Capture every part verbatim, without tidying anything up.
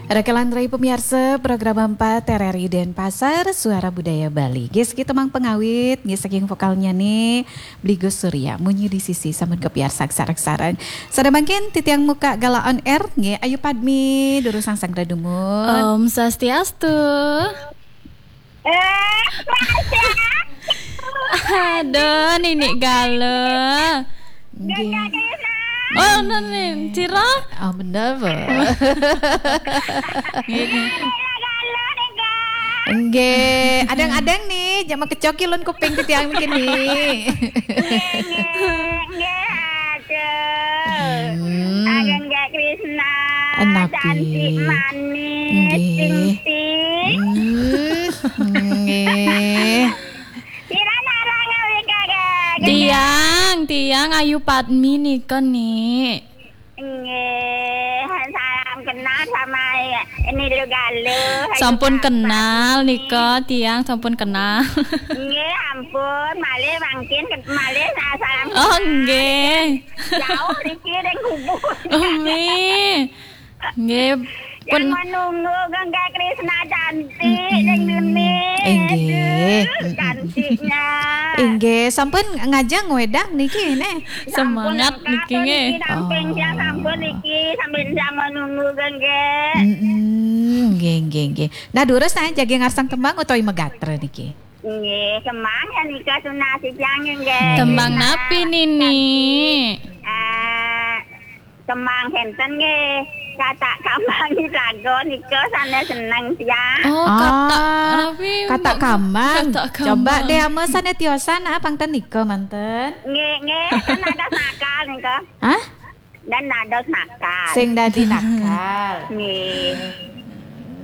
Raka lan rai pamiarsa program empat R R I Denpasar, Suara Budaya Bali. Nggih, saking tembang pangawit, nggih, saking vokalnya nih, Bligus Surya, Munyi di Sisi, sampun kapiarsa sareng-sareng. Sada mangkin titiang muka galah on air, nggih, Ayu Padmi, durus sangsaya dumun. Om Swastiastu. Eh, Mas, ya. Aduh, Nini galah. Nggih. Gagah Krisna. Oh, Nini, sira? Oh, bener, Bu. Nggih, nggih. Galah, galah, nih, Kak. Nggih, adang-adang nih, jangan kecoki lun kuping titiang mangkin nih. Nggih, nggih, nggih, aduh. Hmm. Ageng Gagah Krisna, enapi. Cantik manis, nggih. Ting, ting. Hmm, nggih. Sira ngaran ngawi, Kak, Kak? Tiang, tiang Ayu Padmi nika, Nik. Nggih, salam kenal sama ini Lu Galuh, Ayu Padmi. Sampun kenal nika, tiang sampun kenal. Nggih, ampun, malih mangkin ke-, malih sa-, salam kenal. Oh, nggih. Jauh riki ring Ubud. Oh, nggih. Nggih, pun. Yang menunggu Gagah Krisna cantik, mm-mm, ning Nini. Inggih. Aduh, mm-mm, cantiknya. Inggih, sampun ngajeng wedang niki, neh. Semangat sampun lengkap niki, nggih. Niki, samping siang sampun niki, sambil siang menunggu, Gagah. Mm-mm, nggih, nggih, nggih. Nah, durus nah, jagi ngarsang tembang utawi magatra niki? Nggih, tembang ya nika, sunah sijang, nggih. Tembang napi, Nini? Eh, Kembang kenten nggih. Katak kambang raga nika sané seneng tiang. Oh, katak, ah, napi, katak kambang. Katak kambang. Coba deh, ama sané tiosan, ah, pangten nika manten. Nggih, nggih, kan ada nakal nika. Hah? Dan ada nakal. Sing dadi nakal. Nggih.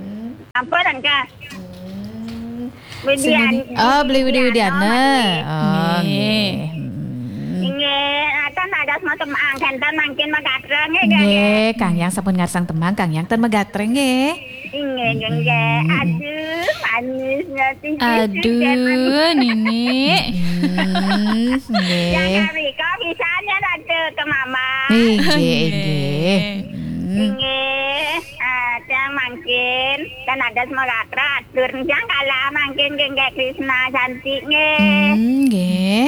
Hmm. Ampun, Angka. Hmm. Widian-, sing dadi, oh, Beli Widi Widiana. Widiana. Oh, nggih. Nggih. Hmm. Inggih, akan ada semua tembang, kenten mangkin magatra, nggih, nggih, nggih. Nggih, Kang Yang sampun ngarsang tembang, Kang Yang ten magatra, nggih. Inggih, nggih, nggih. Mm-mm. Aduh, manisnya tinggi. Aduh, Nini. Mm-mm, nggih. Yang kami kok bisanya rada ke mama. Inggih, nggih, inggih. Mm. Inggih, ah, tiang mangkin, kan ada semua gatra, atur tiang kalah mangkin, nggih, nggih, Krisna cantik, nggih. Hmm, nggih.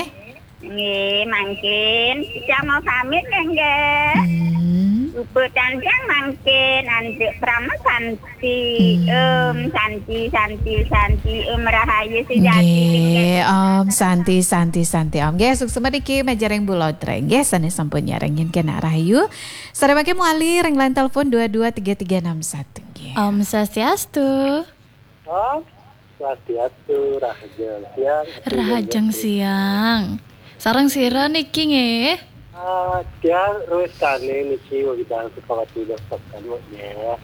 Nggih, mangkin. Tiang mau pamit, nggih, nggih. Hmm. Uputan tiang mangkin, antuk Parama Santi. Hmm. Om Santi, Santi, Santi, Om Rahayu Sujati. Nggih, nggih. Om Santi, Santi, Santi, Om. Nggih, suksma niki majeng ring Bulodra. Nggih, sané sampun nyarengin kena rahayu. Sareng mangkin malih ring line telepon dua dua tiga tiga enam satu, nggih. Om Swastiastu. Om Swastiastu, rahajeng siang. Rahajeng siang. Sareng sira niki nggih? Ah, tiang Rois Kane niki, wegedang Sukawati Dostokan, nggih.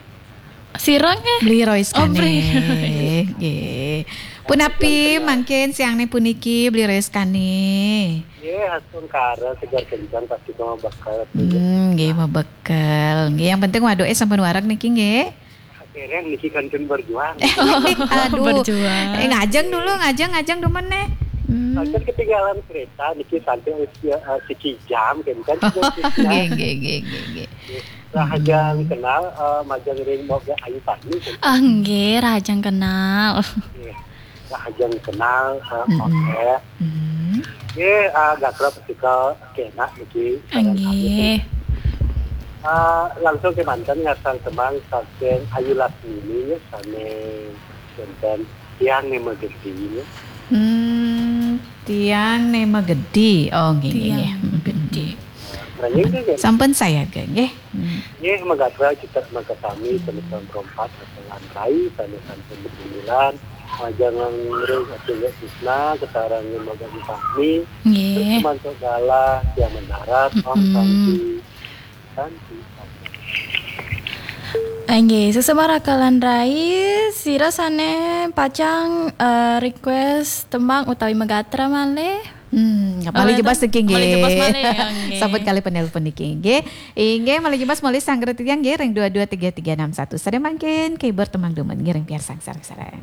Sira nggih? Beli Rois Kane. Oh, Beli Rois. Nggih. Punapi mangkin siang niki puniki, Beli Rois Kane? Nggih, astungkara seger kencang pasti mau bakal. Hmm, nggih, mau bakal. Nggih, yang penting waduk eh sampun wareg niki nggih. Akhirnya niki kantun berjuang. Aduh. Berjuang. Eh, ngajeng dulu, ngajeng, ngajeng dulu meneh. Hmm. Pancen ketinggalan kereta niki sampai, eh, siki jam, kan, kan. Nggih, nggih, nggih, nggih, nggih. Rahajeng kenal, eh, majeng ring Moga Ayu Padmi, kan. Ah, nggih, rahajeng kenal. Nggih. Rahajeng kenal, eh, mm-mm, oke. Hmm. Nggih, ah, gatra pasti kena niki. Nggih. Ah, langsung kemanten ngarsang tembang saking Ayu Lasmini, nggih, sané wonten Tiang Né Magedi, nggih. Hmm, Tiang Né Magedi. Oh, nggih, nggih, nggih. Tiang Magedi. Nah, nggih, nggih, nggih. Sampun saya, nggih. Hmm. Nggih, magatra cita magatra sami, sané sampun berempat, sané sampun bersembilan, majeng ring Atuh Tisna, kasarengin Moga Ayu Padmi. Nggih. Terus mantuk galah, tiang mendarat, Om, mm-mm, Santi. Santi, Santi. Inggih, sesama raka lan rai, sira sané pacang, eh, request tembang utawi magatra malih. Hmm, malih jebos niki nggih. Malih jebos malih, ya, nggih. Sampun kalih penelpon niki nggih. Inggih, malih jebos malih sanggra titiang nggih ring dua dua tiga tiga enam satu. Sada mangkin, keyboard tembang dumun nggih ring piarsang sareng-sareng.